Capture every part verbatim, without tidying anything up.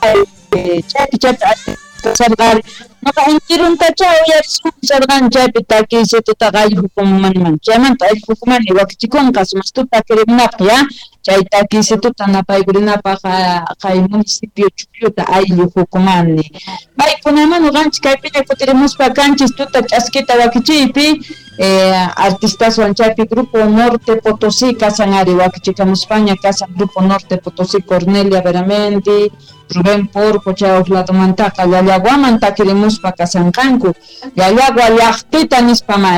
Chaypi chaypi kasharqari noqa intiruntacha uyarisharqani chaypi takiysitutaqa ayllu hukumanman chaymanta ayllu hukumani wakichikunqa sumaqtuta takirimunapaq ya chay takiysituta napaykurinapaq kay municipio Chukyuta ayllu hukumani paykunaman noqanchis kaypiña kutirimuspa kanchis tuta ch'askita wakichiypi eh, artistaswan chaypi Grupo Norte Potosí kasan ari wakichikamuspaña kasan Grupo Norte Potosí Cornelia Veramendi Rubén Porco chay uqladomantaqa Llallaguaman takirimuspa kasanqanku Llallagua llaqtita nispa ma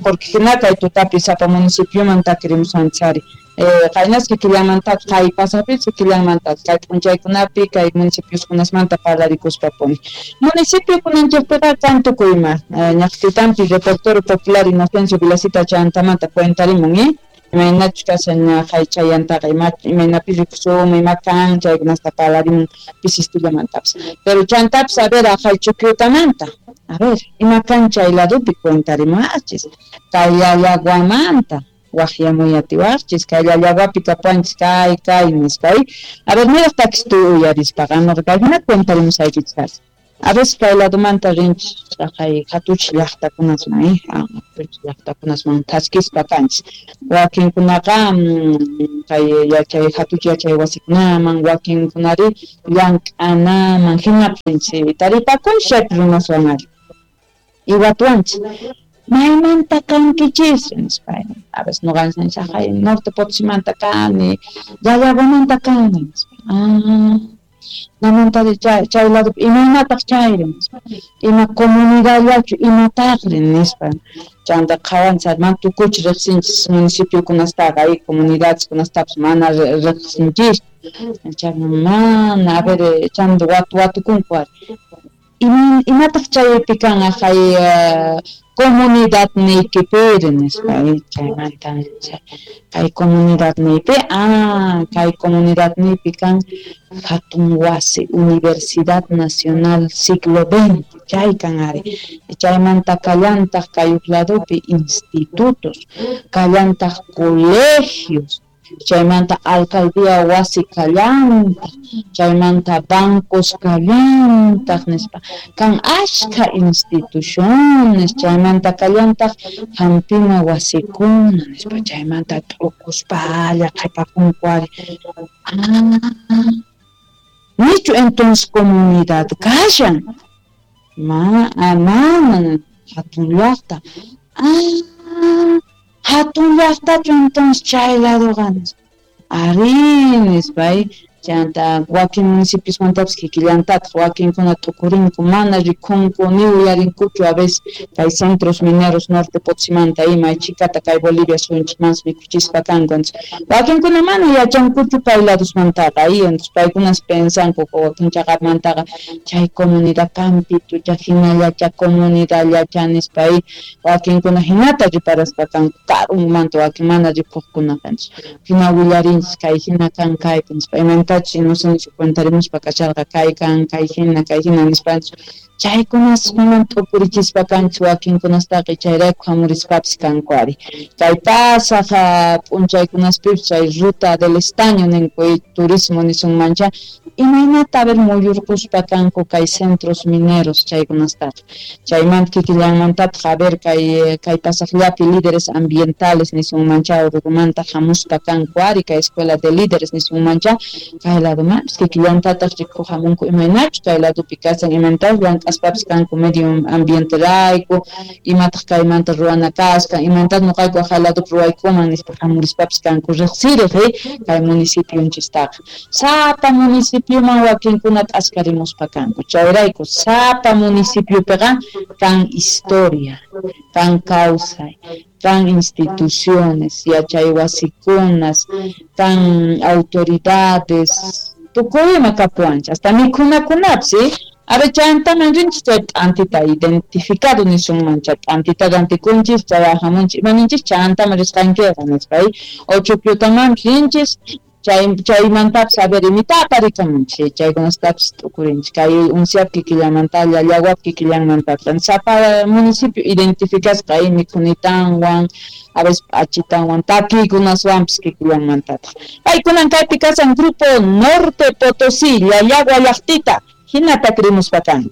porque hina kay tutapi sapa municipioman takirimusanchari eh, qaynaski killamanta kay pasapis killamanta kay p'unchaykunapi kay municipioskunasmanta parlarikuspapuni municipio kunanchikpiqa kan tukuyma ñaqtitampi reportero popular Inocencio Vilasita chantamanta cuentarimun eh imaynachus kashan ñaqay chayantaqa ima imaynapi rikusum ima kan chaykunasta parlarimun pisistullamantapas pero chantapis a ver aqhay Chukyutamanta a ver ima kan chay ladopi cuentarimuachis kay Llallaguamanta waqyamuyatiwaqchis kay Llallaguapi kapuanchis kay kay nispa a ver niraq takistu uyarispaqa noqa kay hina cuentarimusaykichis a veces kay ladomanta rinchis kay hatuch llaqtakunasman eh hatuch llaqtakunasman thaskispa kanchis wakinkunaqa kay yachay hatuch yachay wasikunaman wakinkunari llank'anaman hinapi rinchis taripakunchis chaypi runaswan ari iwatuanchis maymanta kankichis nispa a veces noqanchis haqay Norte Potosimanta kani Llallaguamanta kani nispa ah namantari chay chay ladopi imaynataq chayri nispa ima comunidadllachu imataqri nispa chanta qhawanchis mana tukuchi riqsinchis municipiokunastaqa y comunidadeskunastapas mana riqsinchis chay mana a ver chanta watu watukunku ari imataq chaypi kan haqay comunidad niykipiri nispa chaymanta kay comunidad niypi ah kay comunidad niypi kan hatun wasi Universidad Nacional Siglo veinte chay kan ari chaymanta kallantaq kay huk ladopi institutos kallantaq colegios chaymanta alcaldía wasi kallantaq chaymanta bancos kallantaq nispa kan ashka instituciones chaymanta kallantaq hampina wasikuna nispa chaymanta t'ukuspalla qhipakunku ari ah nichu entonces comunidad kashan ma mana hatun llaqta ah hatun llaqtachu entonces chay ladoqa ari nispa chanta wakin municipiosmantapas kikillantataq wakinkuna t'ukurinku mana rikunku ni uyarinkuchu a veces kay centros mineros Norte Potosimanta ima chikata kay Bolivia suyunchikmanpas mikuchispa kanku entonces wakinkuna mana yachankuchu kay ladosmantaqa y entonces paykunas pensanku wakin chaqapmantaqa chay comunidad campitucha hinallacha comunidadllacha nispa y wakinkuna hinata riparaspa kanku karunmanta wakin mana rikuqkunaqa entonces hina willarinchis kay hina kan kaypi nispa imaynatachus Inocencio cuentarimuspa kasharqa kay kan kay hina kay hina nispa chaykunaskunan t'ukurichispa kanchis wakinkunastaqa chayrayku hamurispapis kanku ari kay pasaq p'unchaykunaspipis chay ruta del estaño ninku turismo nisunmancha imaynata a ver muyurquspa kanku kay centros mineros chaykunastaqa chaymanta kikillanmantataq a ver kay kay pasaqllapi líderes ambientales nisunmancha Urugumanta hamuspa kanku ari kay escuela de líderes nisunmancha kay ladomanpis kikillantataq rikuq hamunku imaynachus kay ladopi kasan imaynatachus llank'aspapis kanku medio ambienterayku imataq kaymanta ruwana kaskan imaynatachus noqayku haqay ladopi ruwaykuman nispa hamurispapis kanku riqsiriq kay municipionchistaqa sapa municipioman wakinkuna t'askarimuspa kanku chayrayku sapa municipiopiqa kan historia kan kawsay kan instituciones yachay wasikunas kan autoridades tukuyma kapuwanchis hasta mikhunakunapis a ver chantaman rinchis chay t'antita identificado nisunman chay t'antita rantikunchis chay ahamunchis imaninchis chantaman risqankiqa nispa o Chukyutamanpis rinchis Chay chaymantapis a ver imita aparikamunchik, chaykunastapis t'ukurinchik kay unsiap kikillanmanta, llallaguap kikillanmantapis sapa municipio identificasqa ay mikhunitanwan, a veces p'achitanwan, takiykunaswanpis kikillanmantataq. Paykunan kaypi kasan Grupo Norte Potosí, Llallagua llaqtita, hina takirimuspa kan.